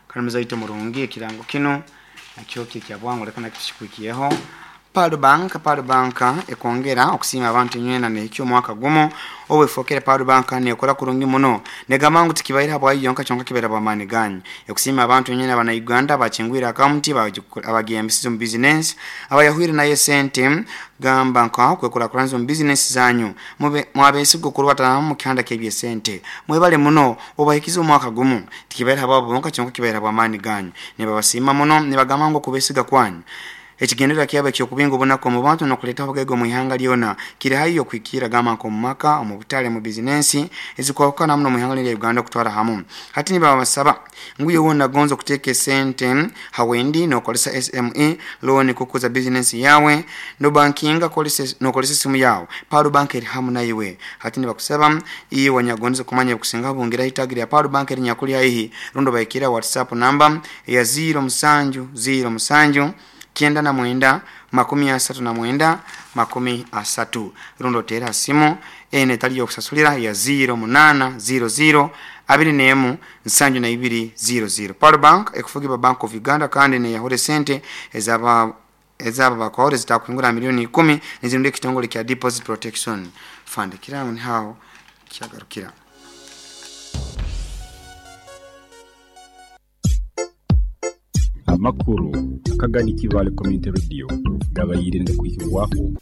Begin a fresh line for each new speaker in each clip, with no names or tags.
Kandi muzaito murungi ekirango kinu nakyo kiri kya bwangu leka nakyo tukikuhikyeho. Pearl Bank Pearl Bank ekwongera okusiima abantu inywena nehikya omwaka gumu obu efwokere Pearl Bank nekora kurungi muno. Negamba ngu tikibaire habwayo yonka kyonka kibaire habwamaani ganyu. Ekusiima abantu inywena abana Uganda abakingwire akawunti, abagiyambisize omu bizinensi, abayahwire nayo esente gamba nka okwekurakuranza omu bizinensi zanyu. Mube mwabesigwa okurubatana hamu mukihanda kyebyesente. Mwebale muno obahikize omwaka gumu. Tikibaire habwabo bonka kyonka kibaire habwamaani ganyu. Nibabasiima muno nibagamba ngu okubesiga kwanyu. Ekigendererwa kyabo eky'okubinga obunaku omu bantu n'okuleetaho obugaiga omu ihanga lyona kiri haihi okuhikirra gamba nk'omu maka, omu butale, omu bizinensi ezikwahukana hamu n'omu ihanga lyona erya Uganda okutwara hamu. Hati nibabasaba ngu iwe weena ogonza okuteeka esente ha wendi n'okozesa SME looni kukuza bizinensi yaawe, n'obankinga n'okozesa esimu yaawe, Pearl Bank eri hamu naiwe. Hati nibakusaba iwe anyakugondeze kumanya ebikusingaho bungira ha itaagi lya Pearl Bank erinyakuli haihi rundi obahikiire ha WhatsApp namba eya ziiro musanju ziiro musanju 99 39 30 rundi oteere ha simu eno etali y'okusasulira eya ziiro munaana ziiro ziiro 21 72 00. Pearl Bank ekufugibwa Bank of Uganda kandi n'eyahura esente ez'aba ez'abo abakwahura ezitakuhingura aha milioni ikumi nizirindwa ekitongore kya Deposit Protection Fund. Ekiraamo niho aho kyagarukira.
Amakuru akagani Kibaale Community Radio gabaire nigakwihibwaho.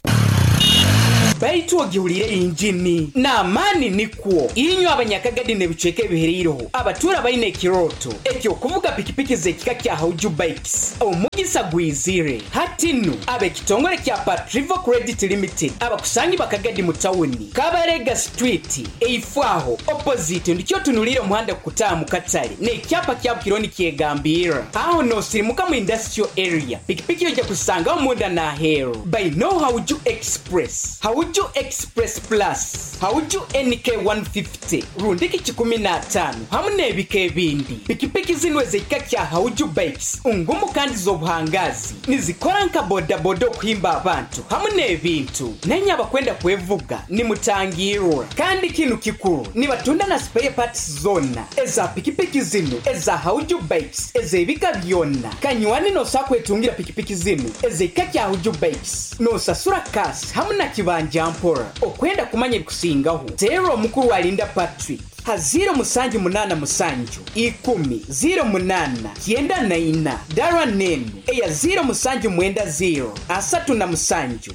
Baitu ogihuriire engini n'amaani nikwo. Inywe Abanyakagadi n'ebicweka ebihereireho abatuura baine ekirooto eky'okuvuga pikipiki z'ekika kya Hauju Bikes, omugisa gwizire. Hati nu, ab'ekitongore kya Patrivo Credit Limited abakusangibwa Kagadi mu tawuni, Kabarega Street, eifo aho, opposite, ndikyo otunuliire omuhanda kukutaaha mu katale n'ekyapa kya Bukiro nikyegambirra. Aho noosirimuka mu Industrial Area, pikipiki oija kuzisangaho munda n'aheeru. Baine Hauju Express, Hauju Express Plus, Hauju NK 150 rundiki 105 hamu n'ebika ebindi. Pikipiki zinu ez'ekika kya Hauju Bikes ngumu kandi z'obuhangaazi. Nizikora nka bodaboda okuhimba abantu hamu n'ebintu. Nainye abakwenda kwevuga nimutangirwa. Kandi kinu kikuru, nibatunda na spare parts zoona eza pikipiki zinu eza Hauju Bikes ez'ebika byona. Kanywani nosobola kwetungira pikipiki zinu ez'ekika kya Hauju Bikes nosasura cash hamu na kibanja mpora. Okwenda kumanya ebikusingaho, teera omukuru Alinda Patrick ha ziiro musanju munaana musanju, ikumi, ziiro munaana, kyenda na ina. Dara n'enu eya ziiro musanju mwenda ziiro, 37, 6,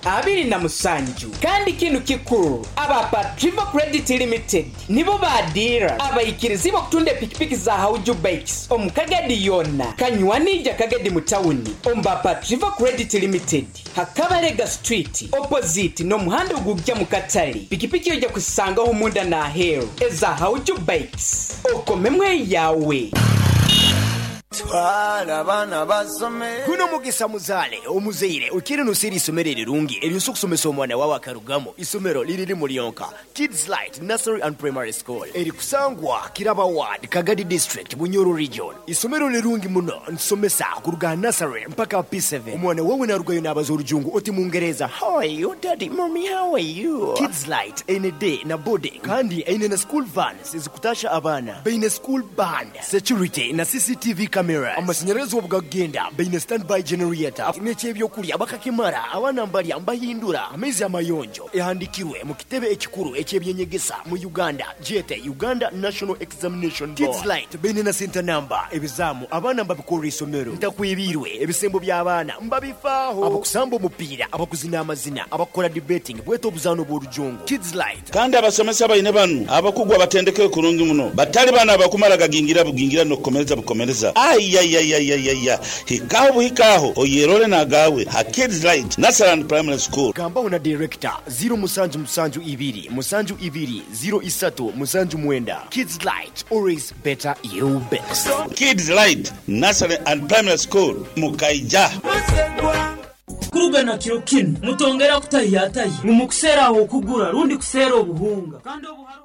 27. Kandi kinu kikuru, aba Patrivo Credit Limited nibo ba diira abaikirizibwa okutunda epikipiki za Hauju Bikes omu Kagadi yoona. Kanywani ija Kagadi mu tawuni omu ba Patrivo Credit Limited. Ha Kabalega Street opposite n'omuhanda ogugya mu katale, pikipiki oija kuzisangaho munda n'aheeru eza Hauju Bikes. Okomemu eyawe.
Twala abaana basome.
Guno mugisa muzaale omuzaire okiire noseera eisomero erirungi eryosa okusomesa omwana wawe akarugamu. Isomero liri limu lyonka, Kids Light Nursery and Primary School erikusangwa Kiraba Ward, Kagadi District, Bunyoro Region. Isomero lirungi muno, nitusomesa kuruga aha nursery mpaka aha P7. Omwana wawe narugayo nabaza orujungu oti mungereza, How are you daddy, mummy how are you? Kids Light eine day na boarding kandi eine na school vans ezikutasha abaana. Baine school band, security na CCTV cameras. Amasanyarazi obu gakugenda baine standby generator n'eky'ebyokurya bakakimara abaana mbarya mbahindura amaizi amayonjo. Ehandikirwe mu kitebe ekikuru eky'eby'enyegesa mu Uganda gyete Uganda National Examination Board. Kids Light baine na senta namba, ebizaamu abaana mbabikorera isomero, ntakwebiirwe, ebisembo by'abaana mbabifaaho, abakusamba omupiira, abakuzina amazina, abakukora debating bwete obuzaano bw'orujungu. Kids Light.
Kandi abasomesa baine banu abakugu abatendekeirwe kurungi muno, batali bano abakumara gagingira bugingira n'okukomereza bukomereza. Aiaiaiaiaia! Hikaho buhika aho oyerole n'agaawe ha Kids Light Nursery and Primary School.
Gambaho na Director, ziiro musanju musanju ibiri musanju ibiri ziiro isatu musanju mwenda. Kids Light, always better you best.
Kids Light Nursery and Primary School, Mukaija.
Kuruga na kiro kinu, mutongera kutahiyatahya ngu mukuseera ah'okugura rundi kuseera obuhunga. Kandi obu haroho.